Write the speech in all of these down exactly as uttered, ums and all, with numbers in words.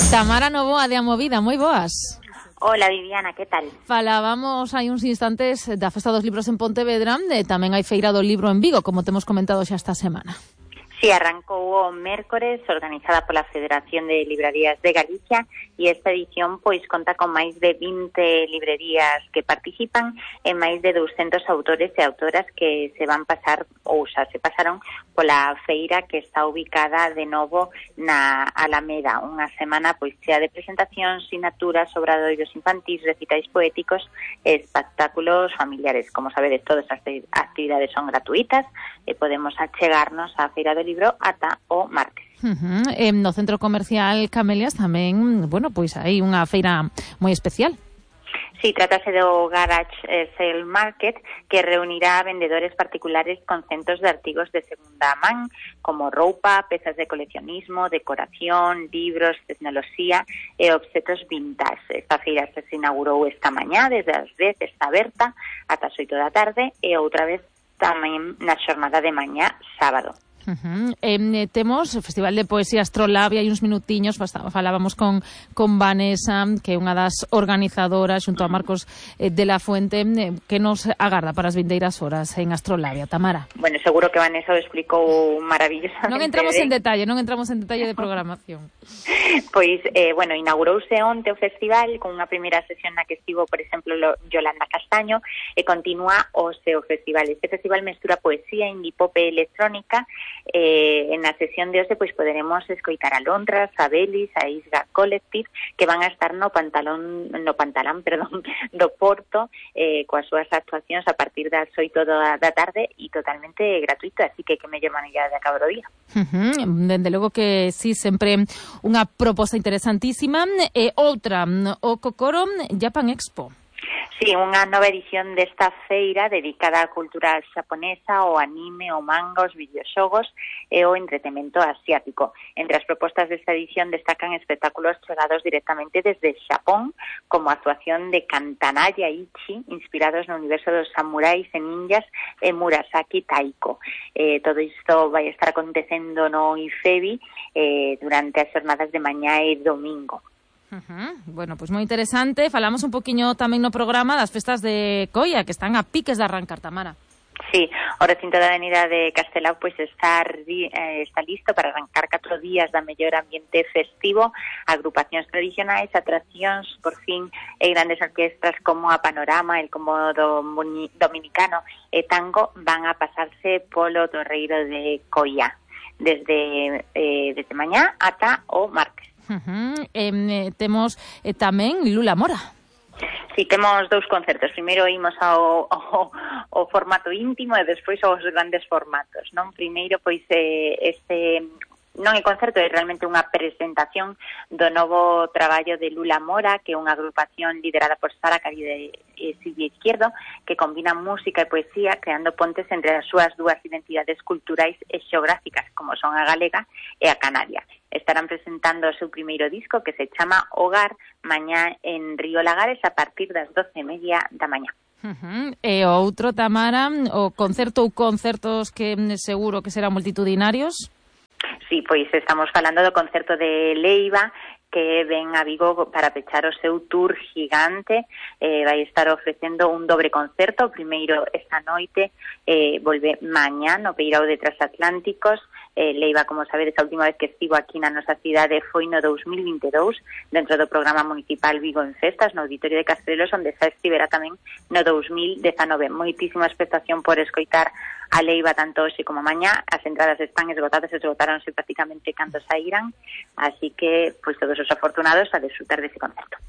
Tamara Novoa de Amovida, moi boas. Hola Viviana, que tal? Falábamos hai uns instantes da Festa dos Libros en Pontevedra, e tamén hai Feira do Libro en Vigo, como temos comentado xa esta semana. Sí, arrancou o mércores, organizada pola Federación de Librarías de Galicia, e esta edición pois conta con máis de vinte librerías que participan e máis de douscentos autores e autoras que se van pasar ou xa se pasaron pola feira que está ubicada de novo na Alameda, unha semana pois chea de presentacións, sinaturas, obradoiros infantís, recitais poéticos e espectáculos familiares. Como sabedes, todas as actividades son gratuitas e podemos achegarnos á Feira do Libro ata o martes. Uh-huh. Eh, no Centro Comercial Camelias tamén, bueno, pois hai unha feira moi especial. Sí, trátase do Garage Sale Market, que reunirá a vendedores particulares con centos de artigos de segunda man, como roupa, pezas de coleccionismo, decoración, libros, tecnoloxía e obxetos vintage. Esta feira se inaugurou esta mañá, desde as dez está aberta ata as oito da tarde, e outra vez tamén na xornada de mañá, sábado. Uh-huh. Eh, temos o Festival de Poesía Astrolabia, hai uns minutiños falábamos con, con Vanessa, que é unha das organizadoras, xunto a Marcos eh, de la Fuente, eh, que nos agarda para as vindeiras horas en Astrolabia. Tamara. Bueno, seguro que Vanessa o explicou maravillosamente. Non entramos en detalle, non entramos en detalle de programación. Pois, eh, bueno, inaugurouse onte o festival con unha primeira sesión na que estivo, por exemplo, Yolanda Castaño, e continúa o seu festival. Este festival mestura poesía, indie pop e electrónica. Eh, en a sesión de hoxe pois poderemos escoitar a Londras, a Belis, a Isga Collective, que van a estar no pantalón no pantalán, perdón, do Porto, eh, coas súas actuacións a partir das oito da, da tarde e totalmente gratuito, así que que mellor maneira de acabar o día. Uh-huh. Dende logo que sí, sempre unha proposta interesantísima. E outra, o Kokoro Japan Expo. Sí, unha nova edición desta feira dedicada á cultura xaponesa, o anime, o manga, os videoxogos e o entretemento asiático. Entre as propostas desta edición destacan espectáculos chegados directamente desde Xapón, como a actuación de Kantanaya Ichi, inspirados no universo dos samurais e ninjas, e Murasaki Taiko. Eh, todo isto vai estar acontecendo no IFEBI eh, durante as jornadas de mañá e domingo. Uh-huh. Bueno, pois pues moi interesante. Falamos un poquinho tamén no programa das festas de Coia, que están a piques de arrancar, Tamara. Sí, o recinto da Avenida de Castelao pois pues, está, eh, está listo para arrancar catro días da mellor ambiente festivo, agrupacións tradicionais, atraccións, por fin, e grandes orquestras como a Panorama, el Cómodo Dominicano e Tango van a pasarse polo Torreiro de Coia desde, eh, desde mañá ata o martes. Uh-huh. Eh, temos eh, tamén Lula Mora. Sí, temos dous concertos. Primeiro imos ao, ao, ao formato íntimo e despois aos grandes formatos, non? Primeiro, pois, eh, este... non é concerto, é realmente unha presentación do novo traballo de Lula Mora, que é unha agrupación liderada por Sara Caride e Silvia Izquierdo, que combina música e poesía, creando pontes entre as súas dúas identidades culturais e xeográficas, como son a galega e a canaria. Estarán presentando o seu primeiro disco, que se chama Hogar, mañá en Río Lagares a partir das doce e media da mañá. Uh-huh. E o outro, Tamara, o concerto ou concertos que seguro que serán multitudinarios? Sí, pois estamos falando do concerto de Leiva, que ven a Vigo para pechar o seu tour gigante. Eh, vai estar ofrecendo un dobre concerto, o primeiro esta noite, eh, volve mañá no Peirao de Transatlánticos. Eh, Leiva, como sabedes, a última vez que estivo aquí na nosa cidade foi no dous mil vinte e dous, dentro do programa municipal Vigo en Festas, no Auditorio de Castrelos, onde xa estivera tamén no dous mil dezanove. Moitísima expectación por escoitar a Leiva tanto hoxe como mañá. As entradas están esgotadas, esgotaronse prácticamente cando saíran, así que, pois, todos os afortunados a disfrutar dese concerto.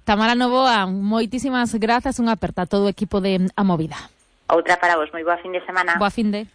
Tamara Novoa, moitísimas grazas, unha aperta a todo o equipo de A Movida. Outra para vos, moi boa fin de semana. Boa fin de...